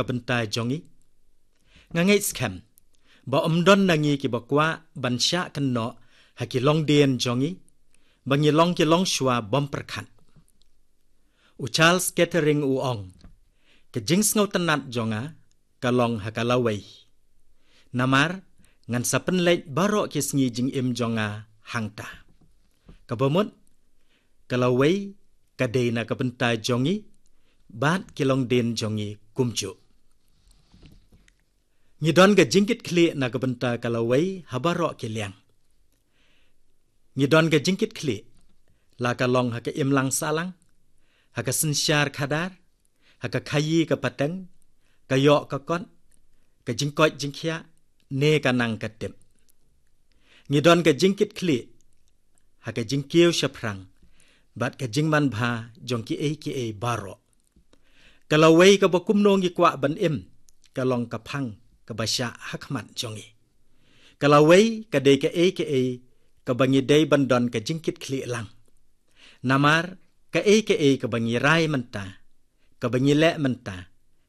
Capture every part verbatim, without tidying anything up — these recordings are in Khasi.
ka bynta jong ngi. Nga ngeit skhem ba ym don na ngi kiba kwah ban shah kynnoh ha ki longdien jong ngi ba ngi long ki longshuwa bym pyrkhat. U Charles Kettering u ong, ka jingsngewtynnat jong nga ka long ha ka lawei. Namar ngan sa pynleit baroh ki sngi jingim jong nga hangta. Kaba mut, ka lawei ka dei na ka bynta jong ngi bad ki longdien jong ngi kumjuh. Ngi don ka jingkitkhlieh na ka bynta ka lawei ha baroh ki liang. Ngi don ka jingkitkhlieh, la ka long ha ka imlang sahlang, ha ka synshar khadar, ha ka khaïi ka pateng, ka ïoh ka kot, ka jingkoit jingkhiah, ne ka nang ka tip. Ngi don ka jingkitkhlieh ha ka jingkiew shaphrang bad ka jingmanbha jong kiei kiei baroh. Ka lawei kaba kumno ngi kwah ban im ka long ka phang kaba shah ha khmat jong ngi. Ka lawei ka dei kaei kaei kaba ngi dei ban don ka jingkitkhlieh lang. Namar kaei kaei kaba ngi rai mynta, kaba ngi leh mynta,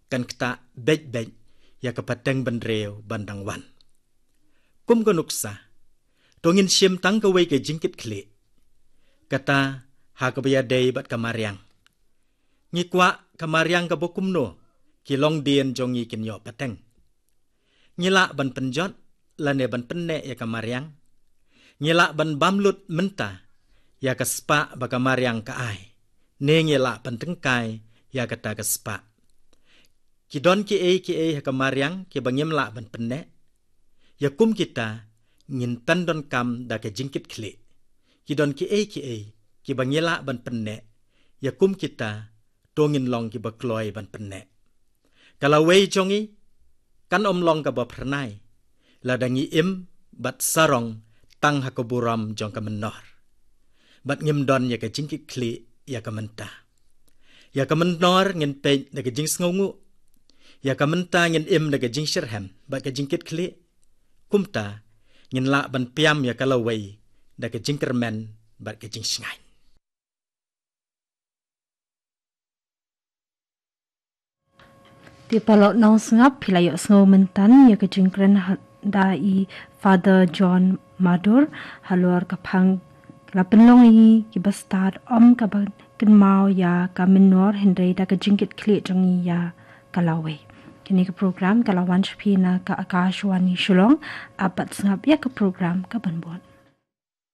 kan ktah beit beit ïa ka pateng bynriew ban dang wan. Kum ka nuksa, to ngin shim tang kawei ka jingkitkhlieh, kata ha kaba ïadei bad ka mariang. Ngi kwah ka mariang kaba kumno ki longdien jong ngi kin ïoh pateng? Ngi lah ban pynjot lane ban pynneh ïa ka mariang? Ngi lah ban bam lut mynta ïa ka spah ba ka mariang ka ai, ne ngi lah ban tyngkai ïa kata ka spah? Ki don kiei kiei ha ka mariang kiba ngim lah ban pynneh? Ïa kum kita ngin pyndonkam da ka jingkitkhlieh. Ki don kiei kiei kiba ngi lah ban pynneh? Ïa kum kita to ngin long kiba kloi ban pynneh. Ka lawei jong ngi kan ym long kaba phyrnai lada ngi im bad sarong tang ha ka burom jong ka mynnor bad ngim don ïa ka jingkitkhlieh ïa ka mynta. Ïa ka mynnor ngin peit da ka jingsngewnguh. Ïa ka mynta ngin im da ka jingshyrhem bad ka jingkitkhlieh. Kumta ngin lah ban piam ïa ka lawei da ka jingkyrmen bad ka jingshngaiñ. Te paralok nongsngap, phi la ïohsngew mynta ïa ka jingkren ha-, da i Father John Madur halor ka phang la pynlong ïa ngi kiba stad ym kaba kynmaw ïa ka mynnor hynrei da ka jingkitkhlieh jong ngi ïa ka lawei. Kane ka program ka la wan sha phi na ka Akashvani Shillong. Ap bad sngap ïa ka program kaban bud.